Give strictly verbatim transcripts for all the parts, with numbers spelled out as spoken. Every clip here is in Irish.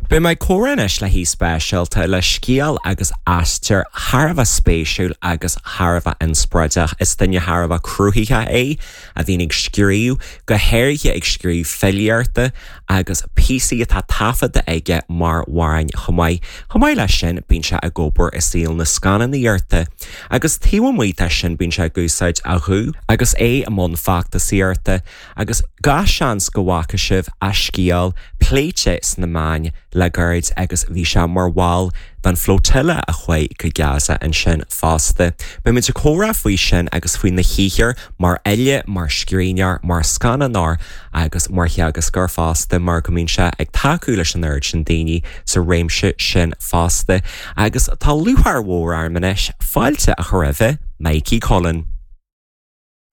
Beidh mé ag comhrá anois le haoi speisialta le scéal agus aistear thar a bheith spéisiúil agus thar a bheith inspioráideach. Is duine thar a bheith cruthaitheach é a bhíonn ag scríobh, go háirithe ag scríobh filíochta agus píosaí atá taifeadta aige mar amhráin chomh maith. Chomh maith leis sin bíonn sé ag obair i saol na scannánaíochta. Agus taobh amuigh de sin bíonn sé ag úsáid a ghuth agus é i mbun feachtasaíochta agus gach seans go bhfaca sibh a scéal pléite sna meáin le gairid agus bhí sé mar bhall den flotilla a chuaigh go Gaza ansin fosta. Beimid ag comhrá faoi sin agus faoina shaothar mar fhile, mar scríbhneoir, mar scannánóir agus mar theagascóir fosta mar go mbíonn sé ag tacú leis an oiread sin daoine sa réimse sin fosta. Agus tá lúcháir mhór orm anois fáilte a chur roimh Mikey Cullen.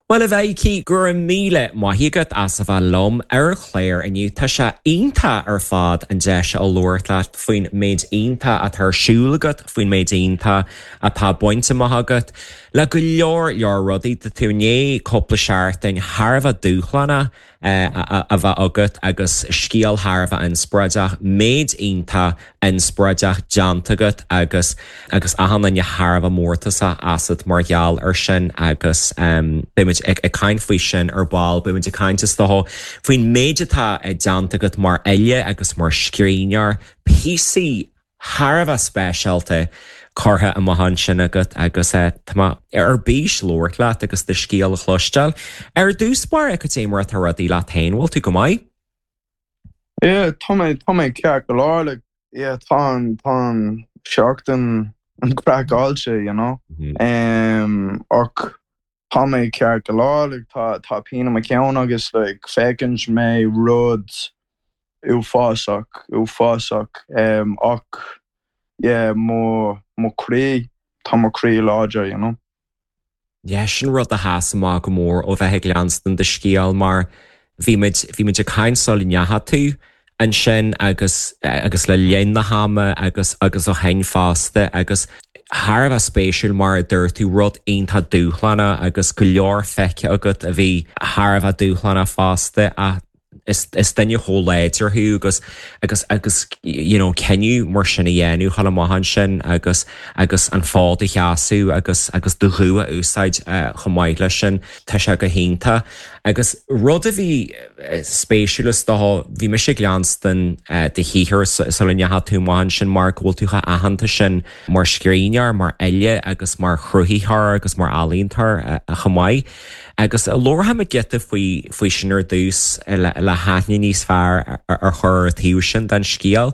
Well a Mhikey go raibh míle maith agat as a bheith liom ar an chlár inniu tá sé iontach ar fad an deis a labhairt leat faoin méid iontach atá ar siúl agat faoin méid iontach atá bainte amach agat le go leor leor rudaí tá tú i ndiaidh cúpla seachtain thar a bheith dúshlánach a bheith agat agus scéal thar a bheith inspioráideach, méid iontach inspioráideach déanta agat agus agus achan duine thar a bheith mórtasach asat mar gheall ar sin agus um, beimid ag, ag caint faoi sin ar ball, beimid ag caint is dócha faoin méid atá déanta agat mar fhile agus mar scríbhneoir, píosaí thar a bheith speisialta curtha amach ansin agat agus tá mé ar bís labhairt leat agus do scéal a chloisteáil. Ar dtús báire cad é mar atá rudaí leat féin, bhfuil tú go maith? Yeah, tá mé tá mé ceart go leor like yeah tá tá seachtain an craiceáilte you know mm -hmm. um, ach tá mé ceart go leor like tá tá pian i mo cheann agus like feiceann mé rud uafásach uafásach um, ach yeah mo mo chroí tá mo chroí láidir you know. Yeah, sin rud a sheas amach go mór ó bheith ag leanstan do scéal mar bhí muid bhí muid ag caint sula ndeachaigh tú ansin agus agus le linn na hama agus agus ó shin fosta agus thar a bheith spéisiúil mar a dúirt tú rud iontach dúshlánach agus go leor feicthe agat a bhí thar a bheith dúshlánach fosta a is is duine chomh láidir thú agus agus agus you know cinneadh mar sin a dhéanamh chun amach ansin agus agus an fód a sheasamh agus agus do ghuth a úsáid uh, chomh maith leis sin tá sé go hiontach agus rud a bhí spéisiúil is dócha bhí mise ag leanstan uh, do shaothar sula ndeachaigh tú amach ansin mar go bhfuil tú chomh aitheanta sin mar scríbhneoir mar fhile agus mar chruthaitheoir agus mar ealaíontóir uh, chomh maith. Agus labharfaimid giota faoi faoi sin ar dtús le, le haithne níos fearr ar chur taobh sin den scéal.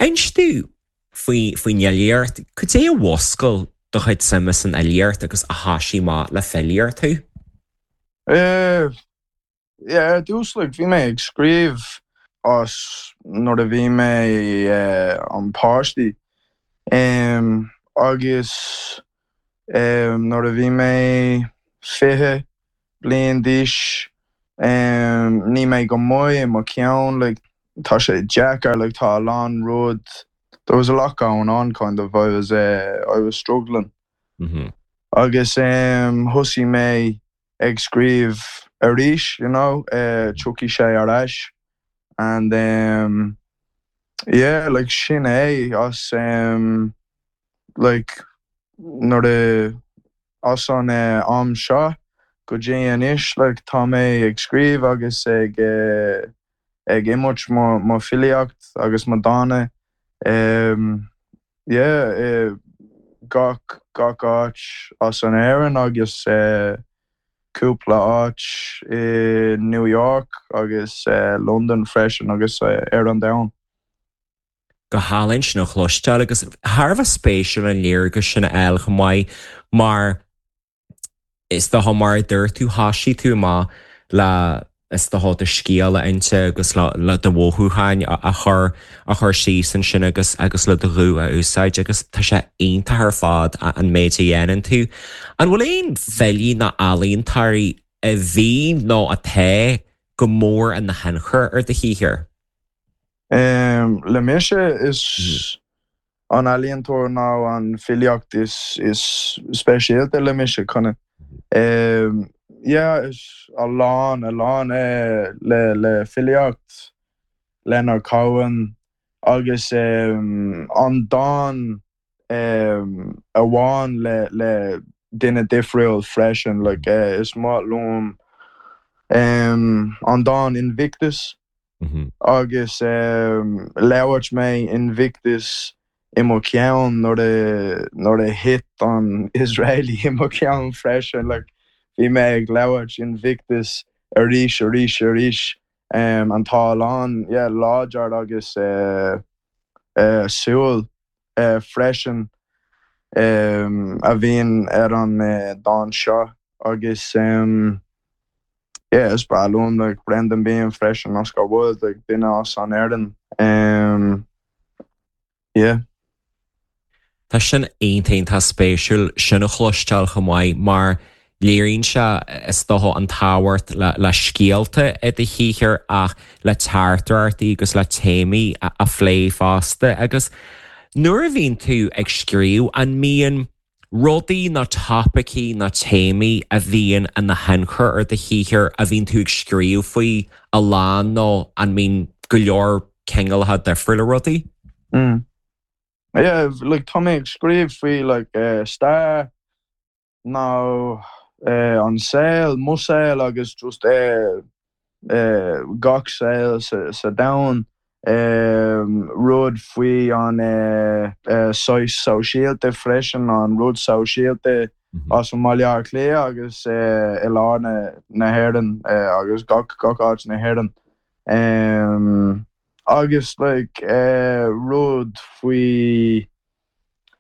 Inis domh faoi faoin fhilíocht, cad é a mhúscail do chuid suime san fhilíocht agus a thosaigh amach le filíocht thú? Uh, yeah, ar dtús like, bhí mé ag scríobh as nuair a bhí mé uh, an páistí um, agus um, nuair a bhí mé fiche bliain d'aois um, ní mé go maith i mo cheann like, tá sé deacair like, tá a lán rud there was a lot going on kind of I was uh, I was struggling Mm -hmm. agus um, thosaigh mé ag scríobh arís you know uh, tiocfaidh sé ar ais and um, yeah like sin é as um, like nuair a as an uh, am seo go dtí anois like tá mé ag scríobh agus ag uh, ag imirt mo mo filíocht agus mo dánta um, yeah uh, gach gach áit as an Éirinn agus uh, cúpla áit i New York agus uh, London freisin agus uh, ar an domhan. Go hálainn sin a chloisteáil agus thar a bheith spéisiúil an léargas sin a fháil chomh maith mar is dócha mar a dúirt tú thosaigh tú amach le is dócha do scéal a inse agus le le do mhothúcháin a chur a chur síos ansin agus agus le do ghuth a úsáid agus tá sé iontach ar fad an méid a dhéanann tú. An bhfuil aon fhilí ná ealaíontóirí a bhí nó atá go mór ina thionchar ar do shaothar? Um, le mise is an ealaíontóir ná an filíocht is is speisialta le mise chuna. Um, yeah, is a lán a lán eh, le le filíocht Leonard Cohen, agus um, an dán um, amháin le le duine difriúil freisin like uh, is maith liom um, an dán Invictus mm -hmm. agus um, labhairt mé Invictus i mo cheann nuair a nuair a hit an Israeli i mo cheann freisin like bhí mé ag labhairt Invictus arís arís arís um, an tá lán yeah, láidir agus uh, uh, súil uh, freisin um, a bhíonn ar an uh, dán seo agus um, yeah, is breá liom like Brendan Behan freisin Oscar Wilde like duine as an Éirinn um, yeah. Tá sin iontach spéisiúil sin a chloisteáil chomh maith mar léiríonn sé is dócha an tábhacht le, le scéalta i do shaothar ach le teachtaireachtaí agus le téamaí a, a phlé fosta agus nuair a bhíonn tú ag scríobh an mbíonn rudaí nó topaicí nó téamaí a bhíonn ina thionchar ar do shaothar a bhíonn tú ag scríobh faoi a lán nó an mbíonn go leor cineálacha difriúla rudaí? Mm. Yeah, like tá mé ag scríobh faoi like uh, stair nó uh, an saol mo shaol agus just uh, uh, gach saol sa, sa domhan um, rud faoi an uh, uh, saghas sóisialta freisin an rud sóisialta Mm -hmm. as an mBaile Átha Cliath agus uh, i lár na, na hÉireann uh, agus gach gach áit na hÉireann. Um, agus like uh, rud faoi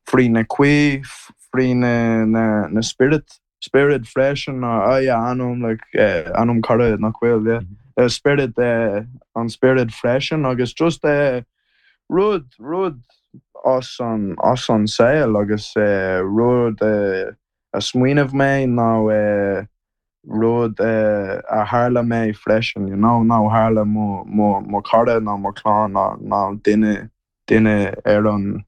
faoi na cuí faoi na, na, na spirit spirit freisin uh, yeah, anam like uh, anam cara nach bhfuil yeah. Mm -hmm. uh, spirit uh, an spirit freisin agus just uh, rud rud as an as an saol agus uh, rud uh, a smaoineamh mé nó uh, rud uh, a tharla mé freisin you know nó tharla mo mo mo cara nó mo chlann nó nó duine duine ar an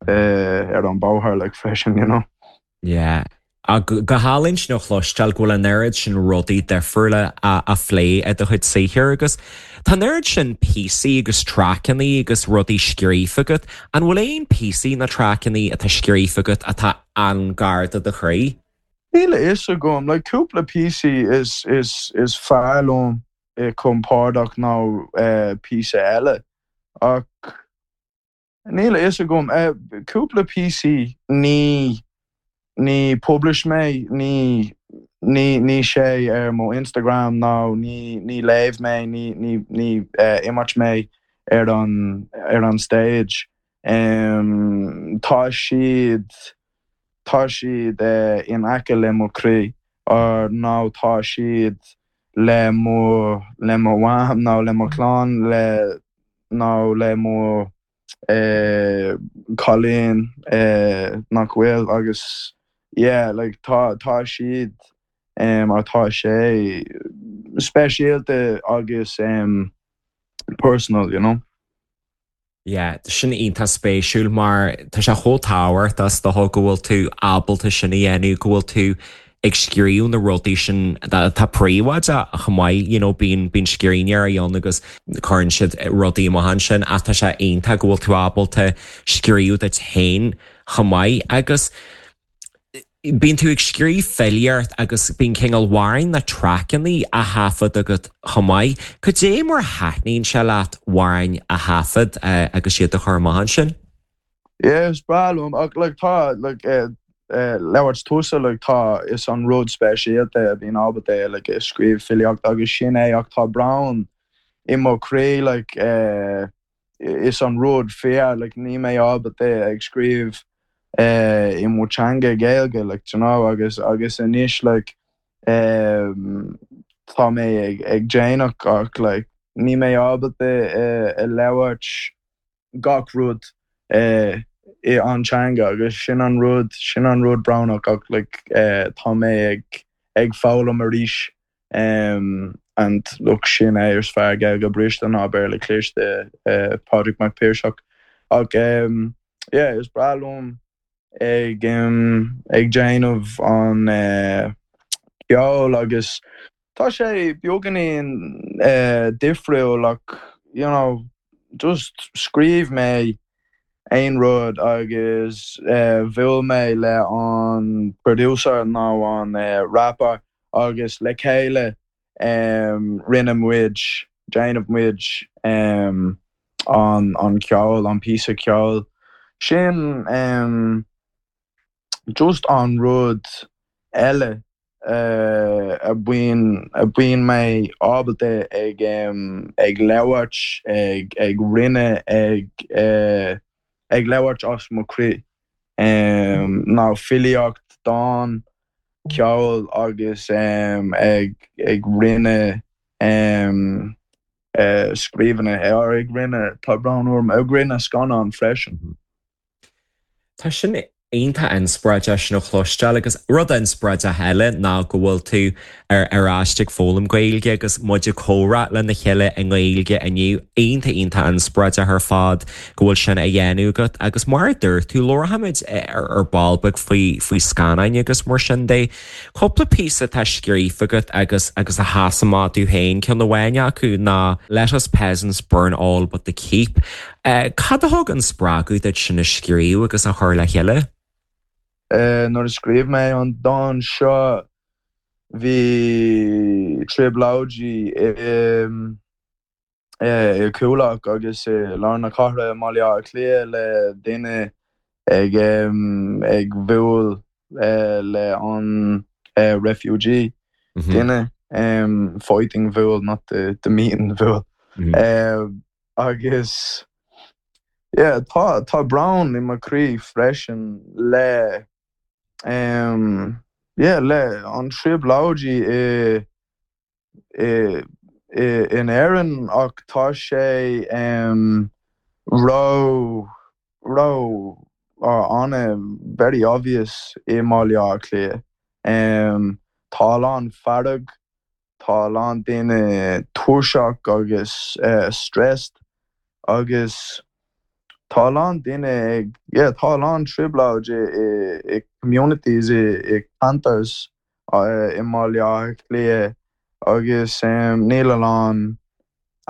uh, ar an bóthar like freisin you know. Yeah. A go hálainn sin a chloisteáil go bhfuil an oiread sin rudaí difriúla a, a phlé i do chuid saothair agus Tá an oiread sin píosaí agus traiceanna agus rudaí scríofa agat, an bhfuil aon píosaí nó traiceanna atá scríofa agat atá an-ghar do do chroí? Níl a fhios agam like cúpla píosaí is is is fearr liom i compordach nó uh, píosa eile ach níl a fhios agam uh, cúpla píosaí ní ní publish mé ní ní ní sé ar mo Instagram nó ní ní léamh mé ní ní ní uh, imirt mé ar an ar an stage. Um, tá siad tá siad uh, in aice le mo chroí or nó tá siad le mo le mo mham nó le mo chlann le nó le mo uh, cailín uh, nach bhfuil agus yeah, like tá tá siad um, or tá sé speisialta agus um, personal, you know. Yeah, sin iontach spéisiúil mar tá sé chomh tábhachtach is dócha go bhfuil tú ábalta sin a dhéanamh go bhfuil tú ag scríobh na rudaí sin tá príobháideach chomh maith you know, bíonn bíonn scríbhneoirí ann agus cuireann siad rudaí amach ansin ach tá sé iontach go bhfuil tú ábalta scríobh duit féin chomh maith agus Bíonn tú ag scríobh filíocht agus bíonn cineál amhráin nó traiceanna á thaifead agat chomh maith. Cad é mar thaitníonn sé leat amhráin a thaifead uh, agus iad a chur amach ansin? Yeah, is breá liom ach like tá like uh, uh, labhairt tusa like tá is an rud speisialta a bhíonn ábalta like ag scríobh filíocht agus sin é ach tá brón i mo chroí like uh, is an rud fear like ní mé ábalta ag scríobh uh, i mo teanga Gaeilge like you know agus agus anois like um, tá mé ag ag déanamh ach like ní mé ábalta uh, a labhairt gach rud uh, i an teanga agus sin an rud sin an rud brónach ach like uh, tá mé ag ag foghlaim arís um, and look sin é is fearr Gaeilge briste ná Béarla cliste uh, Pádraig Mac Piarsach ach um, yeah, is breá liom ag um, ag déanamh an uh, ceol agus tá sé beagáinín uh, difriúil ach you know just scríobh mé aon rud agus uh, bhuail mé le an producer nó an uh, rapper agus le chéile um, rinne muid déanamh muid um, an an ceol an píosa ceoil sin um, just an rud eile uh, a bíonn a bíonn mé ábalta ag um, ag labhairt ag ag rinne ag uh, ag labhairt as mo chroí um, ná filíocht dán ceol agus um, ag ag rinne um, uh, scríbhne ar ag rinne tá brón orm ag rinne scannán freisin. Tá sin iontach inspioráideach sin a chloisteáil agus rud inspioráideach eile ná go bhfuil tú ar ar ais ag foghlaim Gaeilge agus muid ag comhrá lena chéile i nGaeilge inniu iontach iontach inspioráideach ar fad go bhfuil sin á dhéanamh agat agus mar dúirt tú labharfaimid ar ar ball beag faoi faoi scannáin agus mar sin de. Cúpla píosa atá scríofa agat agus agus a sheas amach duit féin ceann amháin acu ná let us peasants burn all but the keep. Uh, cad a thug an spreagadh duit sin a scríobh agus a chur le chéile? Uh, nuair a scríobh mé an dán seo bhí trioblóidí um, i Coolock agus i lár na cathrach i mBaile Átha Cliath le duine ag um, ag bualadh uh, le an uh, refugee Mm -hmm. duine um, fighting bhuail not the, the meeting bhuail Mm -hmm. uh, agus yeah, tá tá brón i mo chroí freisin le um, yeah, le an trioblóidí i i i in Éirinn ach tá sé um, ró ró an very obvious i mBaile Átha Cliath. Um, tá an fearg tá lán daoine tuirseach agus uh, stressed agus tá lán duine ag yeah, tá lán trioblóid i, i, i communities i, i ceantars uh, i mBaile Átha Cliath agus um, níl a lán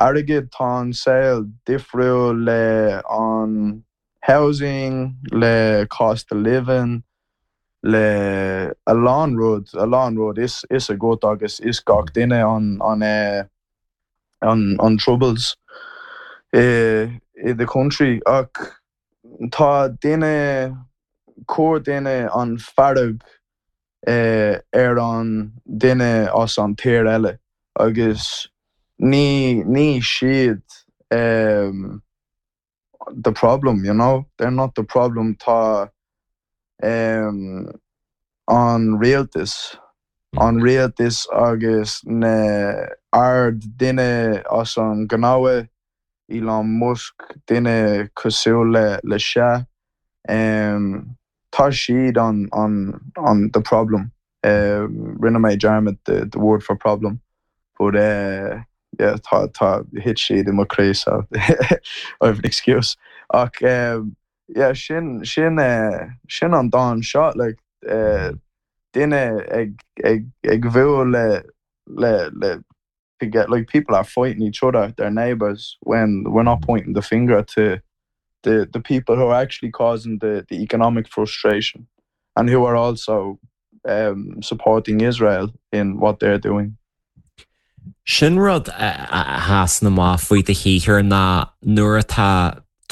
airgead tá an saol difriúil le an housing le cost of living le a lán rud a lán rud is is agat agus is gach duine an an uh, an an troubles i i the country ach tá duine chuir duine an fearg uh, ar an duine as an tír eile agus ní ní siad um, the problem you know they're not the problem tá um, an rialtas an rialtas agus na ard duine as an gnó Elon Musk duine cosúil le le se um, tá siad an an an the problem um, rinne mé dearmad the, the word for problem but uh, yeah, tá tá hit siad i mo chroí so I have an excuse ach um, yeah, sin sin uh, sin an dán seo like uh, duine ag ag ag bualadh le le le to get like people are fighting each other their neighbors when we're not pointing the finger to the the people who are actually causing the the economic frustration and who are also um, supporting Israel in what they're doing. Sin rud a sheasann amach faoi do shaothar ná nuair atá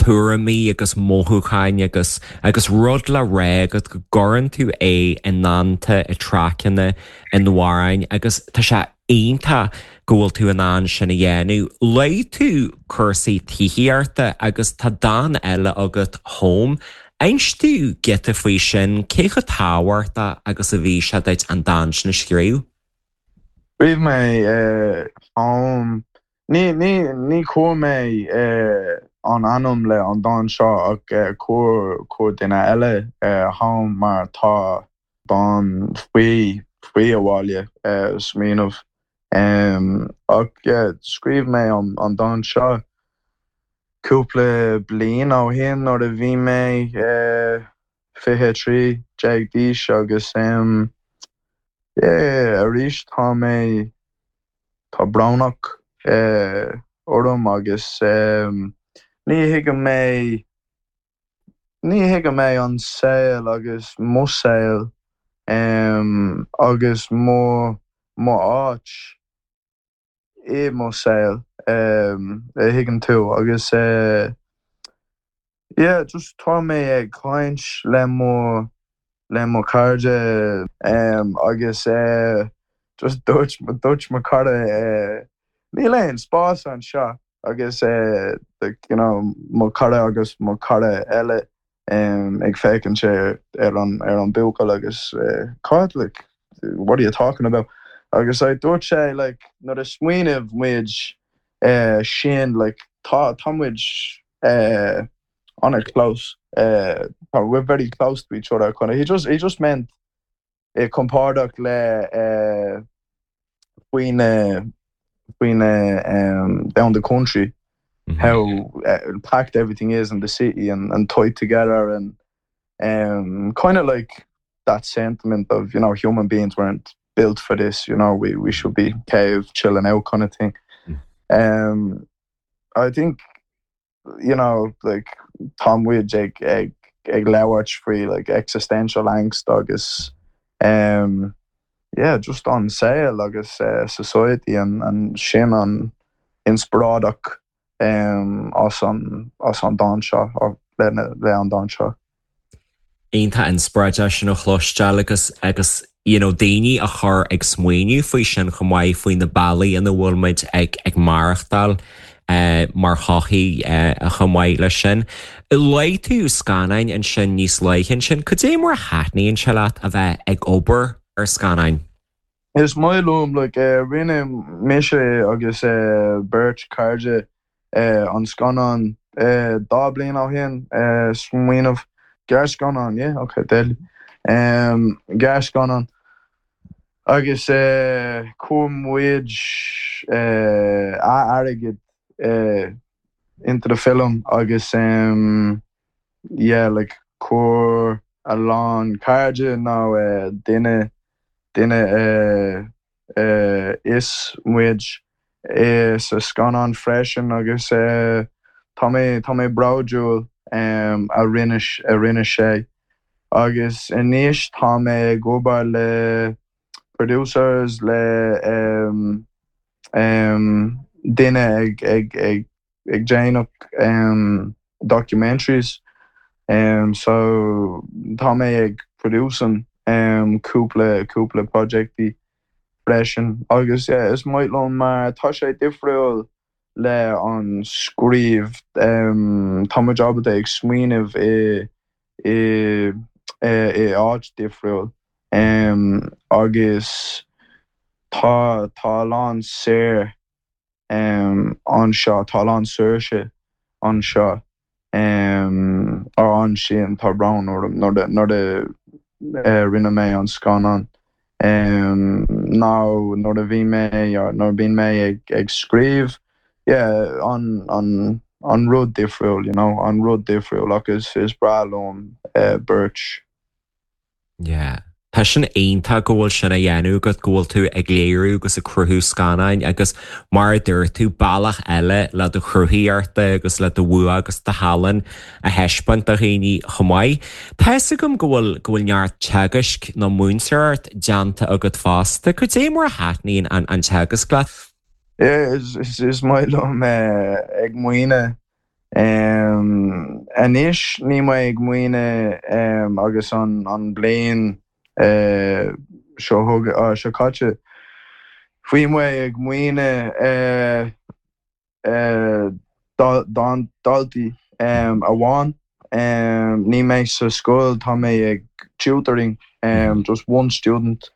tuairimí agus mothúcháin agus agus rud le rá agat go gcuireann tú é i ndánta i dtraiceanna in amhráin agus tá sé iontach go bhfuil tú in ann sin a dhéanamh. Luaigh tú cúrsaí tithíochta agus tá dán eile agat home. Inis tú giota faoi sin cé chomh tábhachtach agus a bhí sé duit an dán sin a scríobh? Scríobh mé uh, home ní ní ní chuir mé uh, an ainm le an dán seo ach uh, chuir chuir duine eile uh, home mar tá dán faoi faoi abhaile uh, smaoineamh um, ach yeah, scríobh mé an, an dán seo cúpla bliain ó shin nuair a bhí mé uh, fiche trí déag d'aois agus um, yeah, arís tá mé tá brónach uh, orm agus um, ní thuigim mé ní thuigim mé an saol agus mo saol um, agus mo mo áit i mo saol um, a thuigeann tú agus uh, yeah, just tá mé ag caint le mo le mo cairde um, agus uh, just dúirt dúirt mo cara uh, níl aon spás anseo agus uh, like, you know, mo cara agus mo cara eile um, ag féachaint sé ar an ar an buachaill agus uh, cad like what are you talking about agus I dúirt sé like nuair a smaoineamh muid uh, sin like tá tá muid uh, on a close uh, we're very close to each other kind of he just he just meant uh, compordach le uh, faoin faoin um, down the country mm -hmm. how uh, packed everything is in the city and, and tied together and um, kind of like that sentiment of you know human beings weren't built for this you know we we should be cave chilling out kind of thing mm. um I think you know like tá muid ag ag ag labhairt faoi like existential angst agus um yeah just an saol agus uh, society and and sin an inspioráid um as an as an dán seo le le an dán seo. Iontach inspioráideach sin a chloisteáil agus agus you know, daoine a chur ag smaoineamh faoi sin chomh maith faoi na bealaí ina bhfuil muid ag ag maireachtáil uh, mar shochaí uh, a chomh maith leis sin. Luaigh tú scannáin ansin níos luaithe sin, cad é mar a thaitníonn sé leat a bheith ag obair ar scannáin. Is maith liom like, uh, rinne mise agus uh, beirt cairde uh, an scannán uh, dá bliain ó shin uh, smaoineamh gearrscannán yeah okay deadly um, gearrscannán agus uh, chuir muid uh, airgead uh, into the film agus um, yeah like chuir a lán cairde nó uh, duine duine uh, uh, is muid uh, sa scannán freisin agus uh, tá mé tá mé bródúil um, a rinne a rinne sé agus anois tá mé ag obair le producers le um, um, duine ag ag ag ag déanamh um, documentaries um, so tá mé ag producing um, cúpla cúpla projectí freisin agus yeah, is maith liom mar tá sé difriúil le an scríobh um, tá muid ábalta ag smaoineamh i i i, i áit difriúil um, agus tá tá lán saor um, anseo tá lán saoirse anseo um, ar ansin tá brón nuair nuair uh, rinne mé an scannán um, ná nuair a bhí mé nuair bhí mé ag, ag scríobh yeah, an, an, an rud difriúil you know, an rud difriúil agus is breá liom uh, beirt. Yeah. Tá sin iontach go bhfuil sin á dhéanamh agat go bhfuil tú ag léiriú agus ag cruthú scannáin agus mar dúirt tú bealach eile le do chruthaíocht agus le do bhua agus do thallann a thaispeáint do dhaoine chomh maith. Tá gom go bhfuil go bhfuil neart teagaisc nó múinteoireacht déanta agat fosta, cad é mar a thaitníonn an an teagasc leat? Yeah, is, is, is maith liom uh, ag múineadh um, anois níl mé ag múineadh um, agus an, an bliain uh, seo uh, seo caite. Bhí mé ag múineadh uh, uh, don daltaí um, amháin um, níl mé sa scoil tá mé ag tutoring um, just one student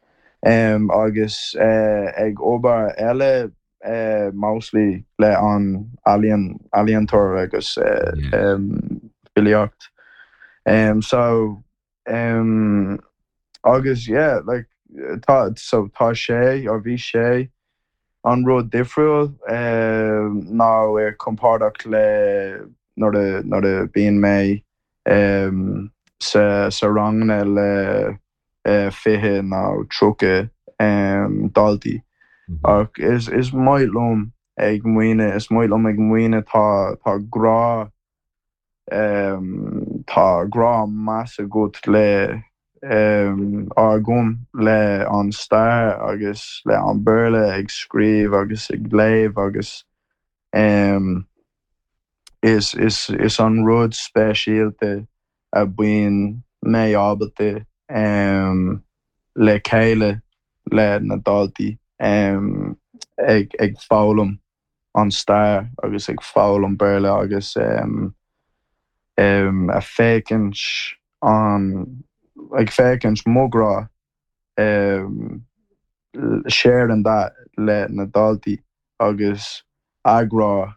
um, agus uh, ag obair eile uh, mostly le an ealaíon ealaíontóir agus uh, yeah. um, filíocht. Um, so um, agus yeah like tá so tá sé or bhí sé an rud difriúil um, ná ar compordach le nuair a nuair a bíonn mé um, sa sa ranganna le uh, fiche nó tríocha um, daltaí. Mm -hmm. ach is is maith liom ag múineadh is maith liom ag múineadh tá tá grá um, tá grá maith agat le um, agam le an stair agus le an Béarla ag scríobh agus ag léamh agus um, is is is an rud speisialta a bíonn mé ábalta um, le chéile le na daltaí um, ag ag foghlaim an stair agus ag foghlaim Béarla agus um, um, a féachaint an ag féachaint mo ghrá um, sharing that le na daltaí agus a ngrá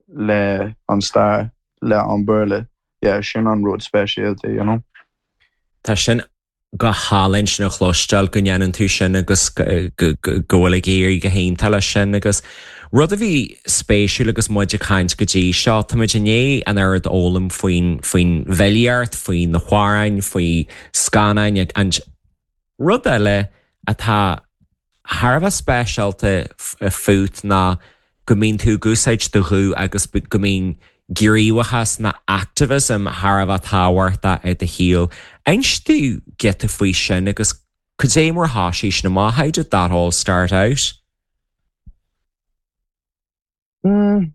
le an stair le an Béarla yeah, sin an rud speisialta you know. Tá sin go hálainn sin a chloisteáil go ndéanann tú sin agus go bhfuil ag éirí go hiontach leis sin agus rud a bhí spéisiúil agus muid ag caint go dtí seo Tá inné an air ólam faoin faoin bhfilíocht, faoi na hamhráin, faoi scannáin an rud eile atá thar a bheith speisialta fút ná go mbíonn tú ag úsáid do ghuth agus go mbíonn gníomhachas nó activism thar a bheith tábhachtach i do shaol. Inis dúinn giota faoi sin agus cad é mar thosaigh sin amach how did that all start out? Mm,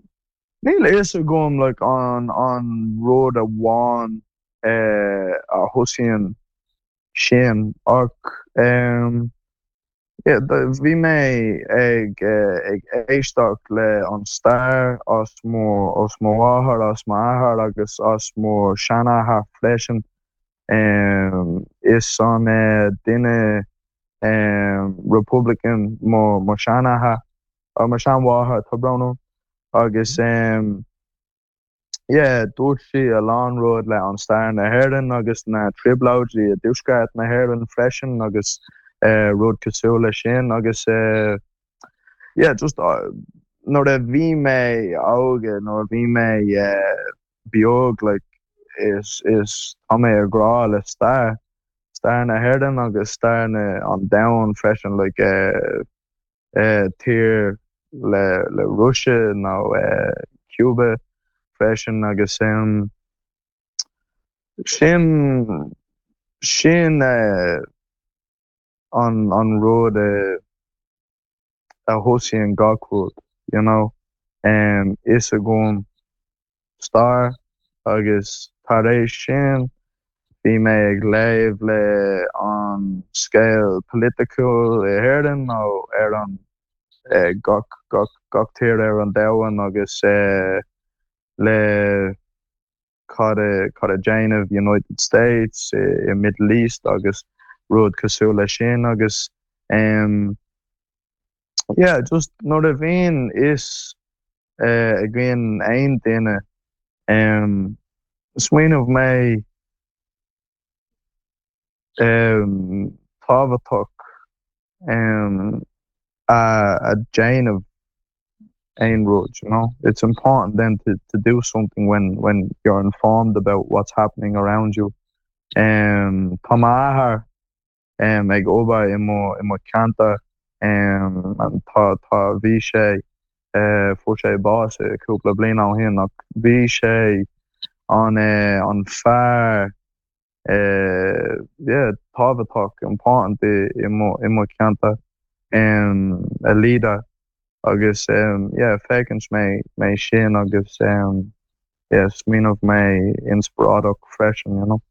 Níl fhios agam like an an rud amháin eh, a thosaíonn sin ach um, yeah, bhí mé ag eh, ag éisteacht le an stair as mo as mo mháthair as m'athair agus as mo sheanathair freisin um, is an uh, duine um, Republican mo mo seanathair mo seanmháthair tá brón agus um, yeah, dúirt sí a lán rud le an stair na hÉireann agus na trioblóidí i dtuaisceart na hÉireann freisin agus uh, rud cosúil le sin agus uh, yeah, just uh, nuair a bhí mé óg nuair a bhí mé uh, beag like, is is tá mé a grá le stair stair na hÉireann agus stair na an domhan freisin like, uh, uh, tír le le Russia nó uh, Cuba freisin agus um, sin sin uh, an an rud uh, a thosaíonn gach rud you know um, is agam stair agus tar éis sin bhí mé ag léamh le an scéal political i hÉireann nó ar an eh, gach gach gach tír ar an domhan agus eh, le cad cad a déanamh United States i, i Middle East agus rud cosúil le sin agus um, yeah, just nuair a bhíonn is uh, againn aon duine um, smaoineamh mé um, tábhachtach um, a, a déanamh aon rud you know it's important then to, to do something when when you're informed about what's happening around you um, Tá m'athair um, ag obair i mo i mo cheantar um, tá tá bhí sé uh, fuair sé bás cúpla bliain ó shin ach bhí sé an uh, an fear uh, yeah, tábhachtach important i i mo i mo cheantar um, a leader agus um, yeah, féachann mé mé sin agus um, yeah, smaoineamh mé inspioráideach freisin you know.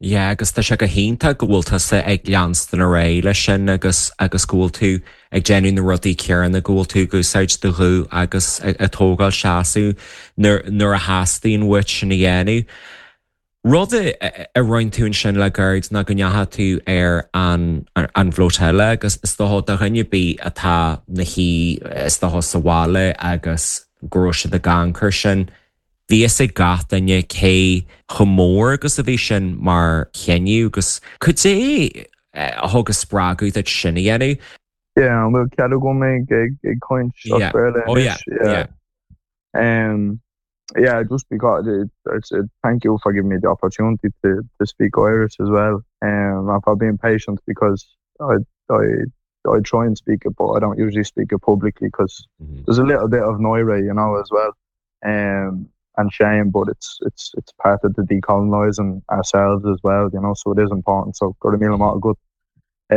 Yeah, agus tá sé go hiontach go bhfuil tusa ag leanstan ar aghaidh leis sin agus agus go bhfuil tú ag déanamh na rudaí céanna go bhfuil tú ag úsáid do ghuth agus ag tógáil seasamh nuair a theastaíonn uait sin a dhéanamh. Rud a rinne tú sin le gairid ná go ndeachaigh tú ar an an bhflotilla agus is dócha do dhuine ar bith atá ina shuí is dócha sa bhaile agus go raibh siad ag amharc sin. Bhí fhios ag gach duine cé chomh mór agus a bhí sin mar chinneadh agus cad é a thug spreagadh duit sin a dhéanamh. Yeah, an bhfuil cead agam ag ag caint Oh yeah, yeah. Um, yeah, just because it, it's it, thank you for giving me the opportunity to to speak Irish as well. Um, and for being patient because I I I try and speak it, but I don't usually speak it publicly because mm -hmm. there's a little bit of náire, you know, as well. Um, and shame but it's it's it's part of the decolonizing ourselves as well you know so it is important so go raibh míle maith agat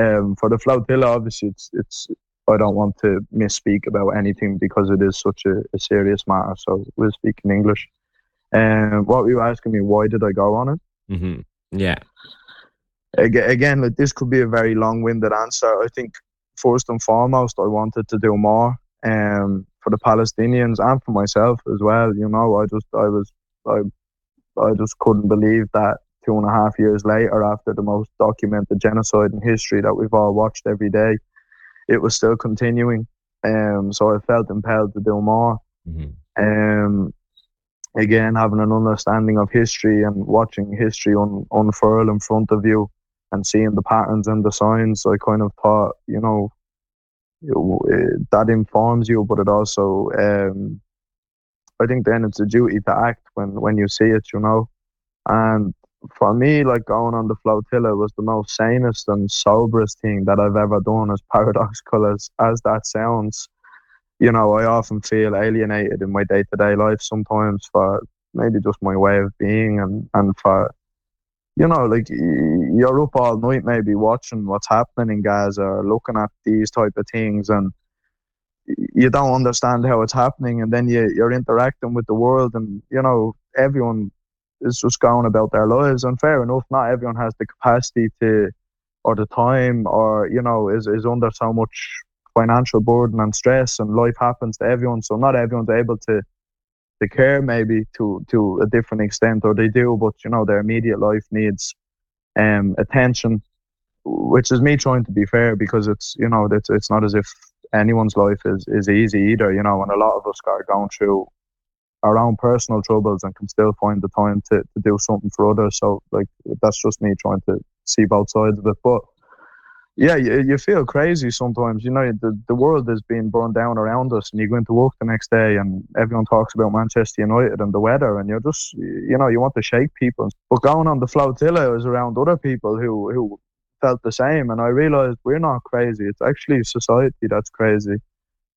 um for the flotilla obviously it's it's I don't want to misspeak about anything because it is such a, a serious matter so we'll speak in English um what were you asking me why did I go on it mm -hmm. yeah again like this could be a very long-winded answer I think first and foremost I wanted to do more um for the Palestinians and for myself as well you know I just I was I I just couldn't believe that two and a half years later after the most documented genocide in history that we've all watched every day it was still continuing um so I felt impelled to do more mm -hmm. um again having an understanding of history and watching history un unfurl in front of you and seeing the patterns and the signs I kind of thought you know that informs you but it also um I think then it's a duty to act when when you see it you know and for me like going on the flotilla was the most sanest and soberest thing that I've ever done as paradoxical as as that sounds you know I often feel alienated in my day-to-day -day life sometimes for maybe just my way of being and and for you know like you're up all night maybe watching what's happening in Gaza or looking at these type of things and you don't understand how it's happening and then you you're interacting with the world and you know everyone is just going about their lives and fair enough not everyone has the capacity to or the time or you know is is under so much financial burden and stress and life happens to everyone so not everyone's able to to care maybe to to a different extent or they do but you know their immediate life needs um attention which is me trying to be fair because it's you know it's it's not as if anyone's life is is easy either you know and a lot of us are going through our own personal troubles and can still find the time to to do something for others so like that's just me trying to see both sides of it but yeah you, you feel crazy sometimes you know the the world is being burned down around us and you go into work the next day and everyone talks about Manchester United and the weather and you're just you know you want to shake people but going on the flotilla is around other people who who felt the same and I realized we're not crazy it's actually society that's crazy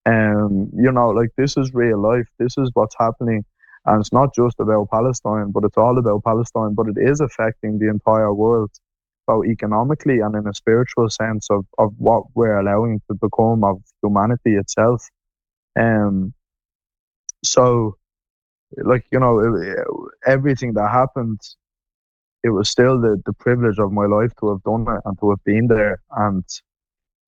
um you know like this is real life this is what's happening and it's not just about Palestine but it's all about Palestine but it is affecting the entire world both economically and in a spiritual sense of of what we're allowing to become of humanity itself um so like you know everything that happened it was still the the privilege of my life to have done it and to have been there and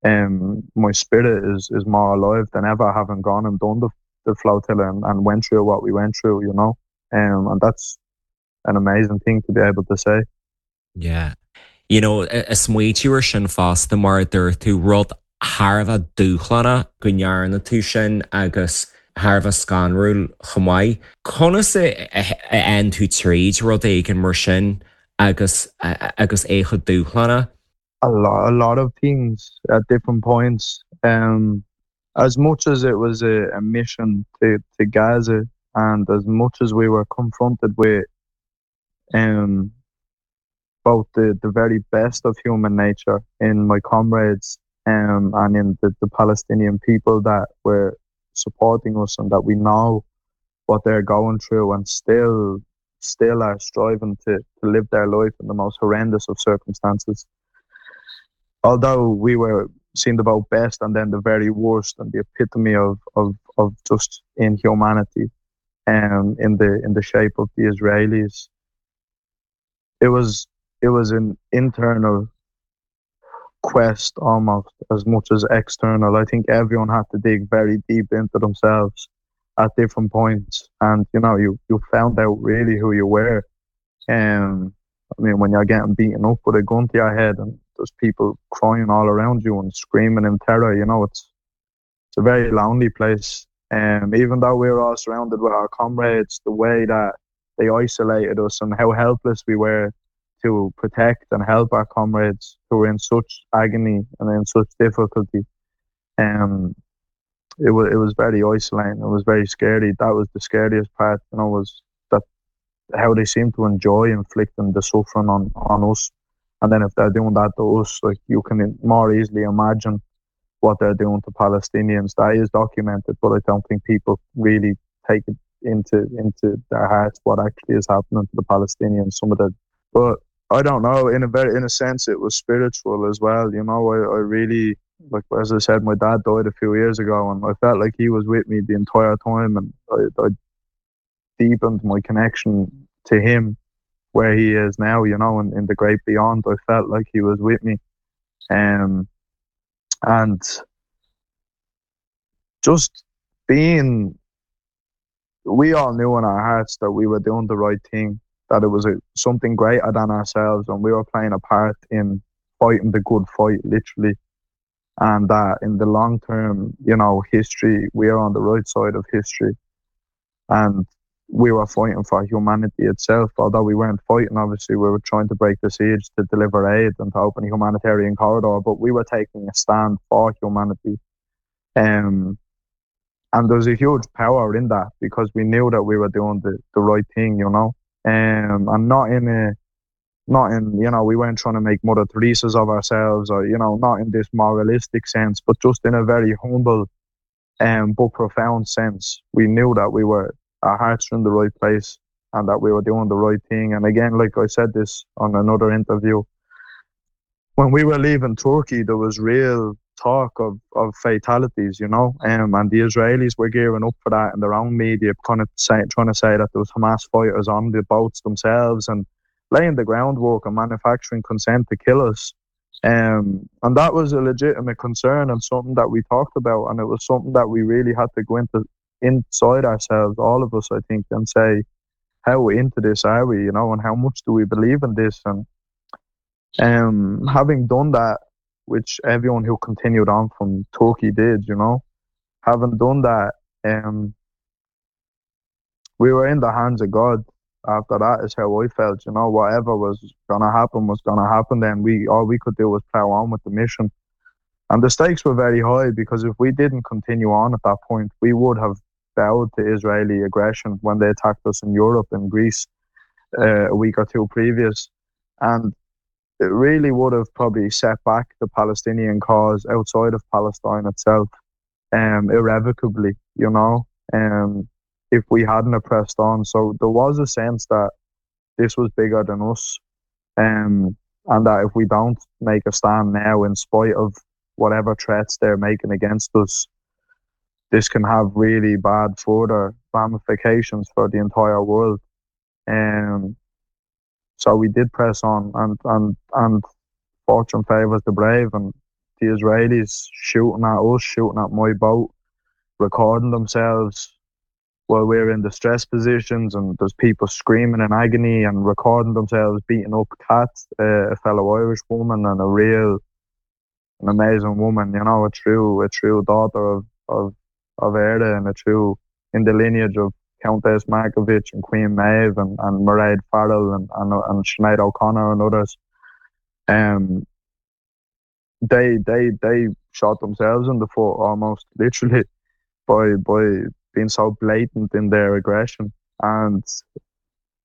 um my spirit is is more alive than ever having gone and done the the flotilla and, and went through what we went through you know um and that's an amazing thing to be able to say yeah You know, is smaoitiú air sin fosta mar dúirt tú rud thar a bheith dúshlánach go ndearna tú sin agus thar a bheith scanrúil chomh maith. Conas a théann tú tríd rud éigin mar sin agus agus é chomh dúshlánach? A lot, a lot of things at different points. Um, as much as it was a, a mission to, to Gaza and as much as we were confronted with um, both the, the very best of human nature in my comrades um, and in the, the Palestinian people that were supporting us and that we know what they're going through and still still are striving to, to live their life in the most horrendous of circumstances. Although we were seen the both best and then the very worst and the epitome of, of, of just inhumanity um, in the in the shape of the Israelis. It was it was an internal quest almost as much as external. I think everyone had to dig very deep into themselves at different points and you know you you found out really who you were. Um, I mean when you're getting beaten up with a gun to your head and there's people crying all around you and screaming in terror, you know it's it's a very lonely place. Um, even though we were all surrounded with our comrades, the way that they isolated us and how helpless we were to protect and help our comrades who were in such agony and in such difficulty. Um, it was it was very isolating. It was very scary. That was the scariest part, you know, was that how they seem to enjoy inflicting the suffering on on us. And then if they're doing that to us, like you can more easily imagine what they're doing to Palestinians. That is documented, but I don't think people really take it into into their hearts what actually is happening to the Palestinians some of the but I don't know in a very in a sense it was spiritual as well you know I, I really like as I said my dad died a few years ago and I felt like he was with me the entire time and I, I deepened my connection to him where he is now you know in, in the great beyond I felt like he was with me um and just being we all knew in our hearts that we were doing the right thing that it was a, something greater than ourselves and we were playing a part in fighting the good fight literally and that in the long term you know history we are on the right side of history and we were fighting for humanity itself although we weren't fighting obviously we were trying to break the siege to deliver aid and to open a humanitarian corridor but we were taking a stand for humanity um and there's a huge power in that because we knew that we were doing the the right thing you know um and not in a not in you know we weren't trying to make Mother Teresa's of ourselves or you know not in this moralistic sense but just in a very humble um but profound sense we knew that we were our hearts were in the right place and that we were doing the right thing and again like I said this on another interview when we were leaving Turkey there was real talk of of fatalities you know um and the Israelis were gearing up for that in their own media kind of say, trying to say that there was Hamas fighters on the boats themselves and laying the groundwork and manufacturing consent to kill us um and that was a legitimate concern and something that we talked about and it was something that we really had to go into inside ourselves all of us I think and say how into this are we you know and how much do we believe in this and um having done that which everyone who continued on from Turkey did you know having done that um we were in the hands of God after that is how I felt you know whatever was gonna happen was gonna happen then we all we could do was plow on with the mission and the stakes were very high because if we didn't continue on at that point we would have bowed to Israeli aggression when they attacked us in Europe and Greece uh, a week or two previous and it really would have probably set back the Palestinian cause outside of Palestine itself um irrevocably you know um if we hadn't pressed on so there was a sense that this was bigger than us um and that if we don't make a stand now in spite of whatever threats they're making against us this can have really bad further ramifications for the entire world um so we did press on and and and fortune favors the brave and the Israelis shooting at us shooting at my boat recording themselves while we're in distress positions and there's people screaming in agony and recording themselves beating up cats uh, a fellow Irish woman and a real an amazing woman you know a true a true daughter of of of Éire and a true in the lineage of Countess Markievicz and Queen Maeve and, and Mairead Farrell and, and, and Sinead O'Connor and others um they they they shot themselves in the foot almost literally by by being so blatant in their aggression and